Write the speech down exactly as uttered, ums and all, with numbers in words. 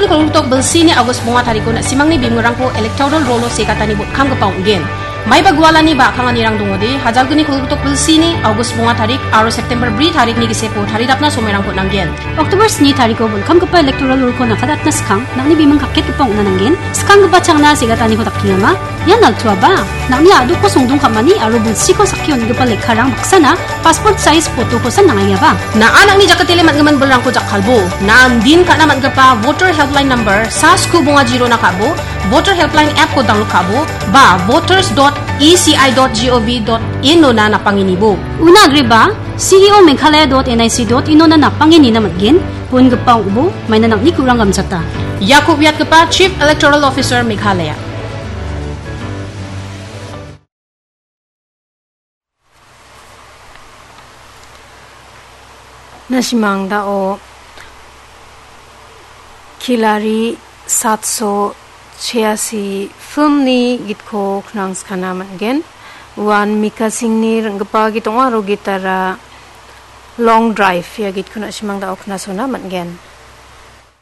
Kolgritok bilsini August bonga tariko na·simangni bimungrangko electoral rolo segatani botkamgipa ong·gen. Maiba gualani ba a·kanganirang dongode, hajalgni kolgritok bilsini August bonga tarik aro September bri tarikni gisepo taridapna somoirangko nanggen. October sni tariko botkamgipa electoral rolo nakadatna skang, nangni bimung kaketgipa ong·na nanggen. Skanggipa changna segataniko dakengama. Ian altuaba, nangni a·dokko songdong ka·mani aro bilsiko sakki on·gipa lekkarang baksana passport size photo-kosan nangaiaba. Na·a nangni jakatele man·gimin bilrangko jakkalbo. Na·an din ka·na man·gipa Voter Helpline number sa sku bonga jirona ka·bo, Voter Helpline app-ko download ka·bo, ba voters dot E C I dot gov dot in-ona napangenibo. Una agreba, C E O Meghalaya dot N I C dot in-ona napangenina man·gen, bongipa ong·bo, maina nangni kurang gamchata. Iako uiatgipa Chief Electoral Officer Meghalaya. Na·simang dao Khilari satso chiasi filmni gitko knangskana man·gen. Uan Mika Singhni ring·gipa git ong·a aro gitara Long Drive ia gitko na·simang dao knasona man·gen.